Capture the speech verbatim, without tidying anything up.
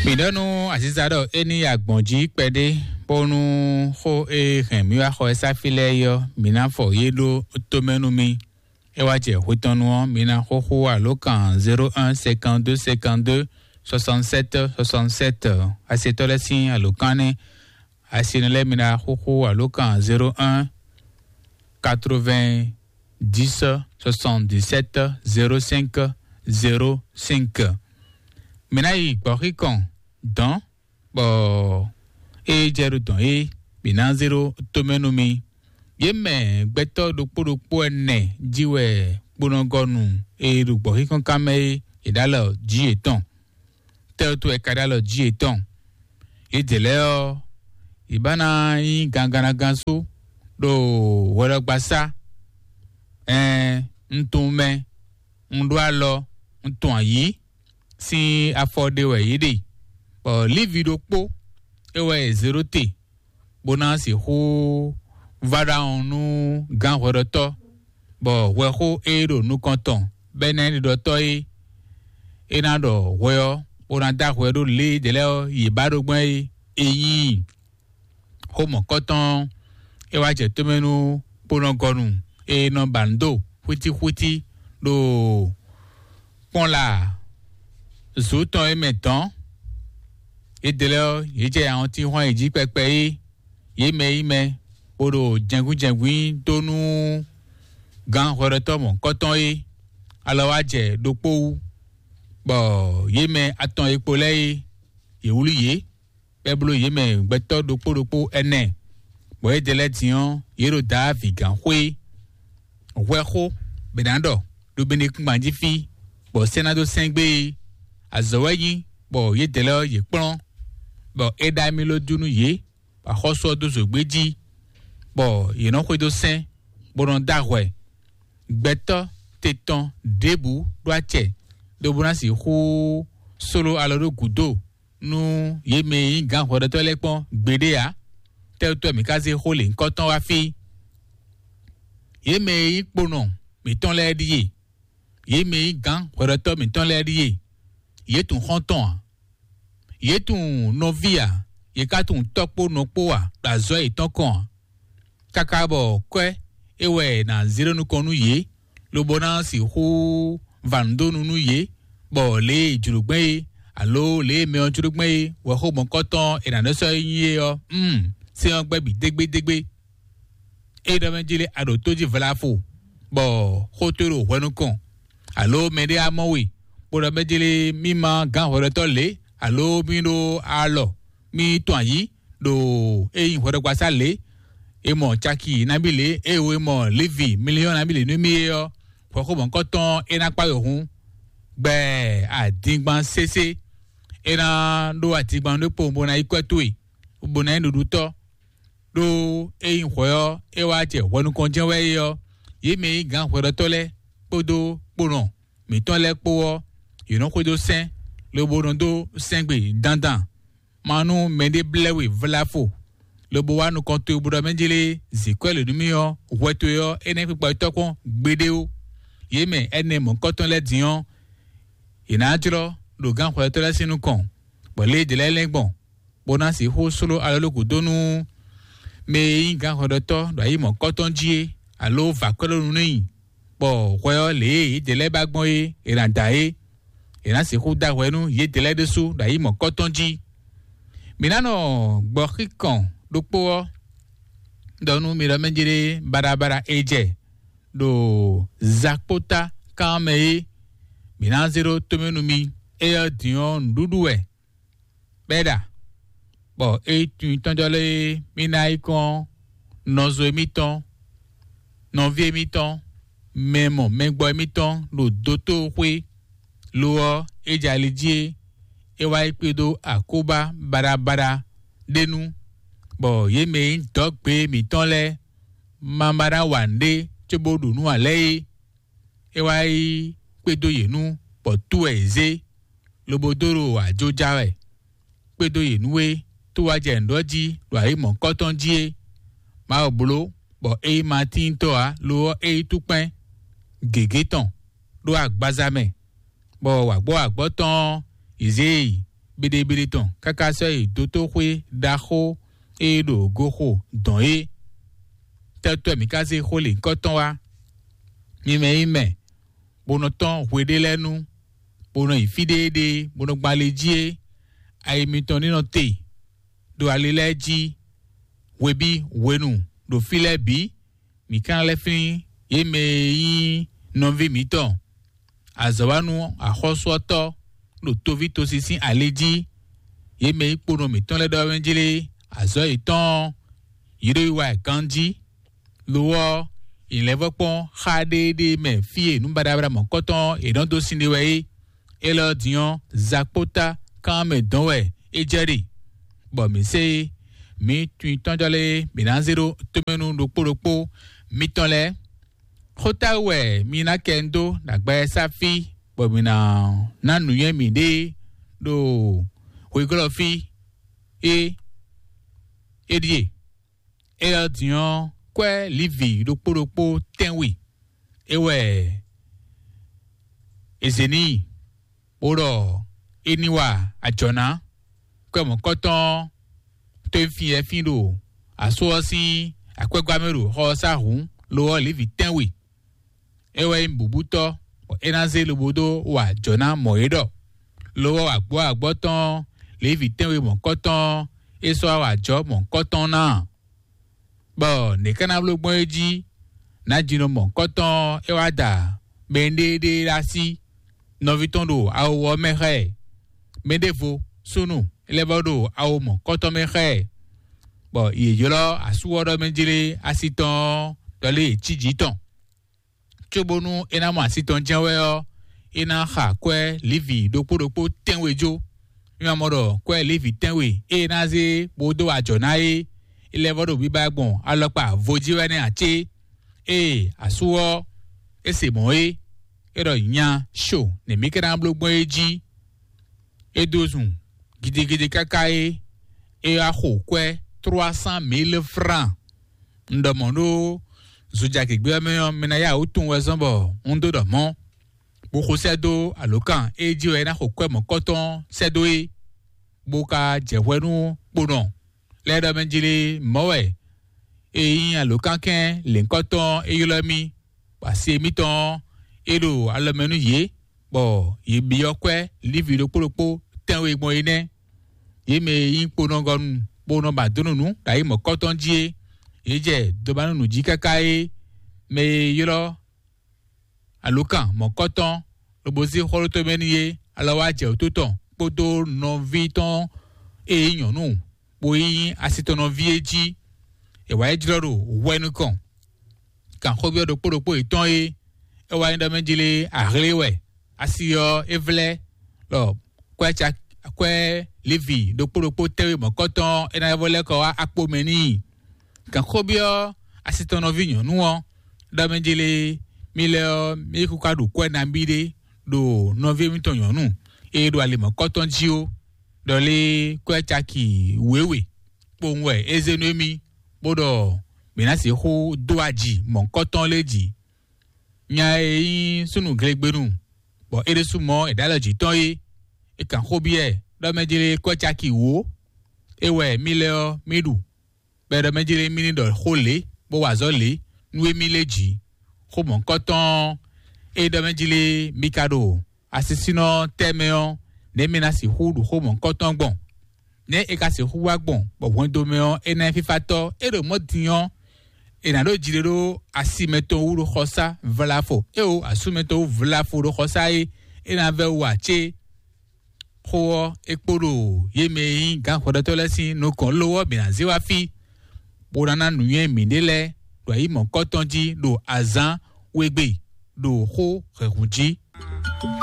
Mǐ ɖɔ nú Aziza ɖɔ é ní yi agbɔ̌n jí kpɛɖé, bónú xó e hɛn mǐ wá xɔ ɛ sáfí lɛ́ɛ é ɔ́, mǐ ná fɔ yě ɖó tomɛ nú mì. É wá jɛ hwetɔ́nu ɔ́, mi ná xóxó alǒkan zéro un cinquante-deux cinquante-deux soixante-sept soixante-sept. Asetɔ́ lɛ́ɛ sín alǒkan nɛ́. Asinɔ lɛ́ɛ, mi ná xóxó alǒkan zéro un quatre-vingt-dix soixante-dix-sept zéro cinq zéro cinq. Mi ná yi gbɔ̌xíkɔn dɔ̌n bɔ é jɛ ɖo dɔ̌n é, mǐ ná zé ɖó tomɛ nú mi. Yě mɛ gbɛtɔ́ ɖokpó ɖokpó ɛnɛ jí wɛ kponɔgɔnu e ɖo gbɔ̌xíxɔ́nkan mɛ é, è ɖó alɔ jǐ yětɔn. Tɛ́ wútu wɛ è ka ɖó alɔ jǐ yětɔn? Yědɛɛ lɛ́ɛ ɔ́, yě ba ná nyí gangannagán sú ɖo hwɛɖɔgbasá. Ɛɛn, un tunwun mɛ, un ɖó alɔ, un tunwun ayǐ, sín afɔ ɖé wɛ yě ɖe, bɔ Lívi ɖokpó é wɛ è zě ɖó te, bó ná sixú vá ɖawɔn nú gǎn hwɛɖɔtɔ́, bɔ hwɛxó e ɖo nukɔn tɔn bɔ é ná nyí ɖiɖɔtɔ́ é, é ná ɖɔ hwɛ ɔ́, bó ná dó ahwɛ ɖó lě e ɖě lɛ́ɛ ɔ́ yě ba ɖó gbɔn é, é nyí i. Xó mɔ̌kɔtɔn ɔ́, é wá jɛ tomɛ nú kponɔgɔnu e nɔ ba nǔ do xwítíxwítí ɖo kpɔ́nla zǔ tɔn é mɛ dɔ̌n. Yědɛɛ lɛ́ɛ ɔ́, yě jɛ awɔntín hɔn e jí kpɛkpɛ é, yě mɛ e nyí mɛ, bó ɖo jɛngbínjɛngbín dó nú gǎn hwɛɖɔtɔ́ mɔ̌kɔtɔn é, alɔ wá jɛ ɖokpó wú, bɔ yě mɛ atɔn e kpo lɛ́ɛ é, yě wlí yě, bɔ é bló yě mɛ gbɛtɔ́ ɖokpó ɖokpó ɛnɛ, bɔ yědɛɛ lɛ́ɛ din ɔ́, yě ɖo Dǎvi gǎn xwé. Hwɛxó bɛ ná ɖɔ ɖo Benekúngban jí fí, bɔ sɛ́ ná dó sɛ́n gbé é. Azɔ̌ wɛ nyí, bɔ yědɛɛ lɛ́ɛ ɔ́, yě kplɔ́n, bɔ é ɖó amilójú nú yě, bɔ axɔ́sú ɔ́ dó zǒgbé jí, bɔ yě nɔ xwedó sɛ́n, bó nɔ dó ahwɛ. Gbɛtɔ́ te tɔn ɖěbǔ ɖó acɛ, lobo ná sixú sló alɔ ɖó gǔdo nú yě mɛ e nyí gǎn hwɛɖɔtɔ́ lɛ́ɛ kpɔ́n gbeɖé ǎ. Tɛ́ wútu wɛ mǐ ka zé xó lěhunkɔtɔn wá fí? Yě mɛ e nyí kponɔ mǐtɔn lɛ́ɛ ɖíe; yě mɛ e nyí gǎn hwɛɖɔtɔ́ mǐtɔn lɛ́ɛ ɖíe; yě tunwun xɔ́ntɔn ǎ. Yě tunwun nɔví ǎ; yě ka tunwun tɔ́ kpó nɔ kpó ǎ ɖo azɔ̌ yětɔn kɔn ǎ. Káká bɔ kwɛ́ é wɛ è nǎ zé ɖó nukɔn nú yě, lobo ná sixú va nǔ dó nu nú yě, bɔ lě e è jlǒ gbɛn é, alo lě e mɛ ɔ́ jló gbɛn é, wɛ xó mɔ̌kɔtɔn è nǎ nɔ́ sɔ́ nyí é ɔ́, mm, sɛ́n ɔ́ gbɛ́ bǐ dégbédégbé. Ényí ɖɔ mɛ jlé a ɖo tó jí vlafo, bɔ xó towe ɖo hwɛ nukɔn, alo mɛɖé á mɔ we, bó ɖɔ mɛ jlé mì ma gán hwɛɖɔtɔ́ lě, alo mì ɖó alɔ, mì tɔn ayǐ ɖo ényí hwɛɖɔgbasá lě, è mɔ caki nabí lě, eye è mɔ Levi miliyɔn nabí lě nú mì é ɔ́, hwɛxó mɔ̌kɔtɔn é ná kpá we hun. Gbɛ adingban sésé, é ná ɖó adingban ɖokpó bó ná yí kwɛ́ towe, bó ná nyí ɖuɖutɔ́. Ɖó ényí hwɛ ɔ́, é wá jɛ hwɛ nukɔn jɛ́n wɛ é ɔ́, yě mɛ e nyí gǎn hwɛɖɔtɔ́ lɛ́ɛ kpódó kponɔ mǐtɔn lɛ́ɛ kpó ɔ́, yě nɔ xwedó sɛ́n, lobo nɔ dó sɛ́ngbe dandan. Ma nú mɛɖé blɛ́ we vlafo, lobo wá nukɔn towe bó ɖɔ mɛ jlé zǐkwɛ́ lě nú mì ɔ́, hwɛ towe ɔ́, é nɛ́ kpikpa tɔ́ kpɔ́n gbeɖé ó. Yě mɛ ɛnɛ mɔ̌kɔtɔn lɛ́ɛ din ɔ́, yě ná jlɔ́ ɖo gǎn hwɛɖɔtɔ́ lɛ́ɛ sín nukɔn, bɔ lě e è dě lɛ́ɛ lɛ́n gbɔn, bó ná sixú sló alɔlókù dó nú mɛ e nyí gǎn hwɛɖɔtɔ́ ɖo ayi mɔ̌kɔtɔn jí é, alo vǎ kwɛ́ ɖó nu n'i, bɔ hwɛ ɔ́, lě e yědɛɛ lɛ́ɛ ba gbɔn é, è nǎ da é. È nǎ sixú da hwɛ nú yědɛɛ lɛ́ɛ ɖésú ɖo ayi mɔ̌kɔtɔn jí. Mǐ ná nɔ gbɔ xíkɔn ɖokpó ɔ́ ɖɔ nú mi ɖɔ mɛ jlé baɖabaɖa e jɛ ɖo zakpóta kan ɔ́ mɛ é, mǐ ná zé ɖó tomɛ nú mi. Éyɛ́ ɔ́ din ɔ́, nǔɖuɖu wɛ bɔ é ɖa, bɔ é tunwun tɔ́njɔ́ lɛ́ɛ é, mì ná yi kɔn nɔzo émítɔn, nɔví émítɔn, mɛ mɔ mɛgbɔ émítɔn ɖo dotóxwé; lo ɔ́, é jɛ ali jí é, é wá yi kpédó akóbá baɖabaɖa ɖé nu, bɔ yě mɛ e nyí dɔ̌gbe mǐtɔn lɛ́ɛ ma ba ná wa nǔɖé cóbó ɖu nǔ ǎ lɛ́ɛ é. É wá yi kpédó yě nu, bɔ tú wɛ yě zé, lobo dó ɖo ajo ja wɛ kpédó yě nu é, tó wá jɛ nǔ ɖɔ jí ɖo ayǐ mɔ̌kɔtɔn jí é. Mawu bló, bɔ é nyí matíntɔ́ ǎ; lo ɔ́, é nyí túkpɛ́n gěgé tɔn ɖó agbaza mɛ, bɔ wǎgbɔ́ wǎgbɔ́ tɔn ɔ́, yě zé e yi, beɖebeɖe tɔn káká sɔ́ yi dotóxwé ɖaxó e ɖo goxo dɔn é. Tɛ́tɔ́ mǐ ka zé xó lěhunkɔtɔn wá? Mi mɛ yi mɛ, bó nɔ tɔ́n hweɖé lɛ́ɛ nu, bó nɔ yi fí ɖéeɖée, bó nɔ gbɔn ali jí é, ayi mitɔn ní nɔ te ɖo ali lɛ́ɛ jí hwebí hwenu ɖo fí lɛ́ɛ bǐ. Mǐ ka lɛ́ flín yě mɛ e nyí nɔví mǐtɔn, azɔ̌wanú axɔ́súɔtɔ́ ɖo toví tosi sín ali jí. Yě mɛ e nyí kponɔ mǐtɔn lɛ́ɛ ɖɔ wɛ jlé azɔ̌ yětɔn ɔ́, yě ɖo yi wa ɛ ganjí. Lo ɔ́, è lɛ́ vɔ́ kpɔ́n xá ɖéeɖée mɛ fí e nǔ baɖabaɖa mɔ̌kɔtɔn e è nɔ dó sin ɖe wɛ é. Élɔ́ din ɔ́, zakpóta kán mɛ dɔn wɛ é jɛ ɖe, bɔ mǐ se é. Mǐ tunwun tɔ́njɔ lɛ́ɛ mǐ ná zé ɖó tomɛnu ɖokpó ɖokpó mitɔn lɛ́ɛ. Xó táwú wɛ mi ná kɛ ń dó ɖo agbawɛsá fí, bɔ mǐ ná ná nǔnywɛ́ mǐɖée ɖo hweglɔ́ fí é. É ɖíe: Élɔ́ din ɔ́, kwɛ́ Livi ɖokpó ɖokpó tɛ́nwe é wɛ è zě n'i, bó ɖɔ é ní wa ajɔ̌ ná. Kwɛ́ mɔ̌kɔtɔn ɔ́, tó e fín yɛfín ɖo asú ɔ́ sín akwɛ́gbá mɛ ɖo xɔ ɔ́ sá hǔn, lo ɔ́, Livi tɛ́nwe é wɛ nyí bǔbútɔ́, bɔ é ná zé lobo dó wa ajɔ̌ ná mɔ̌ é ɖɔ. Lo ɔ́, agbɔ̌agbɔ́ tɔn Levíi tɛ́nwe mɔ̌kɔtɔn ɔ́, é sɔ́ wá wa ajɔ̌ mɔ̌kɔtɔn ná ǎ. Bɔ nɛ̌ ká ná bló gbɔn é jí? Nǎjínɔ mɔ̌kɔtɔn ɔ́, é wá da mɛɖéeɖée ɖó así, nɔví tɔn ɖo awo ɔ́ mɛ xá ɛ. Mɛɖěvo súnnu é lɛ́ vɔ́ ɖo awo mɔ̌kɔtɔn mɛ xá ɛ, bɔ yě ylɔ́ asú ɔ́ ɖɔ mɛ jlé asi tɔn ɔ́, ɖɔ lé è cí jǐ tɔn. Cóbónú é ná mɔ asi tɔn jɛ́n wɛ ɔ́, é ná xa kwɛ́ Livi ɖokpó ɖokpó tɛ́nwe jó. Mi ma mɔ ɖɔ kwɛ́ Livi tɛ́nwe e é ná zé bó dó ajɔ̌ ná é, é lɛ́ vɔ́ ɖo biba gbɔn alɔkpa vo jí wɛ nɛ́ ǎ cé? Ée asú ɔ́, é se mɔ̌ é, é ɖɔ nya sho nɛ̌ mì ka ná bló gbɔn é jí. É dó zun gidigidi káká é, é wá xo kwɛ́ trois cent mille francs. Un ɖɔ mɔ̌ ɖó zojagěgbé ɔ́ mɛ ɔ́, mi ná yá wǔ tunwun wɛ zɔ́n bɔ un dó ɖɔ mɔ̌, bó xo sɛ́ dó alǒkan e jí wɛ é ná xo kwɛ́ mɔ̌kɔtɔn sɛ́ dó é, bó ka jɛ hwɛ nú kponɔ lɛ́ɛ ɖɔ mɛ jlé mɔ̌ wɛ e nyí alǒkankɛ́n lěhunkɔtɔn e ylɔ́ mì, bɔ asi mitɔn ɔ́, é ɖo alɔ mɛ nú yě, bɔ yě byɔ́ kwɛ́ Livi ɖokpó ɖokpó tɛ́nwe gbɔn é nɛ́. Yě mɛ e nyí kponɔgɔnu bó nɔ ba dó nǔ nú ɖo ayǐ mɔ̌kɔtɔn jí é, yě jɛ dobanúnu jí káká é, mɛ e ylɔ́ alǒkan mɔ̌kɔtɔn lobo zé xɔ́lótɔ́ mɛ n'i é, alɔ wá jɛ wǔtu tɔn kpódó nɔví tɔn e nyí nyɔ̌nu, bó nyí asi tɔn nɔví é jí. È wǎ yi jlɔ́ ɖo hwɛ nukɔn. Kan xó byɔ́ ɖokpó ɖokpó yětɔn é, é wá nyí ɖɔ mɛ jlé ahlé wɛ. Asi ɔ́, é vlɛ́ ɖɔ kwɛ́ ca kwɛ́ Livi ɖokpó ɖokpó tɛ́nwe mɔ̌kɔtɔn é ná vɔ lɛ́ kɔ wá akpo mɛ n'i. Kan xó byɔ́ asi tɔn nɔví nyɔ̌nu ɔ́, ɖɔ mɛ jlé mi lɛ́ ɔ́, mi yi kuka ɖo kwɛ́ nabí ɖé ɖo nɔví mitɔn nyɔ̌nu e ɖo ali mɔ̌kɔtɔn jí ó, ɖɔ lé kwɛ́ caki wěwe kpowun wɛ é zé nú émí, bó ɖɔ mǐ ná sixú dó aji mɔ̌kɔtɔn lɛ́ɛ jí. Nya e nyí súnnu glegbenu, bɔ é ɖésú mɔ è ɖǒ alɔ jǐ tɔn é, è kan xó byɔ́ ɛ ɖɔ mɛ jlé kwɛ́ caki wǒ é wɛ mì lɛ́ ɔ́ mì ɖu, bɔ è ɖɔ mɛ jlé mì ní ɖɔ xó lě bó wa azɔ̌ lě nú émí lɛ́ɛ jí. Xó mɔ̌kɔtɔn ɔ́, é ɖɔ mɛ jlé mi ka ɖo asisínɔ tɛ́ mɛ ɔ́, nɛ̌ mi ná sixú ɖu xó mɔ̌kɔtɔn gbɔn? Nɛ̌ è ka sixú wá gbɔn bɔ hwɛndo mɛ ɔ́, é ná nyí fífátɔ́? É ɖo mɔ̌ din ɔ́, è nǎ ɖo jiɖe ɖó asi mɛtɔn wú ɖo xɔsá vlafo, éeǒ, asú mɛtɔn wú vlafo ɖo xɔsá é, é ná vɛ́ wú ǎ cé? Xó ɔ́, é kpo ɖo yě mɛ e nyí gǎn hwɛɖɔtɔ́ lɛ́ɛ sín nukɔn ló ɔ́ bǐ ná zé wá fí, bó ná ná nǔnywɛ́ mǐɖée lɛ́ɛ ɖo ayǐ mɔ̌kɔtɔn jí ɖo azǎn wegbe ɖo xó hɛ̌hun jí.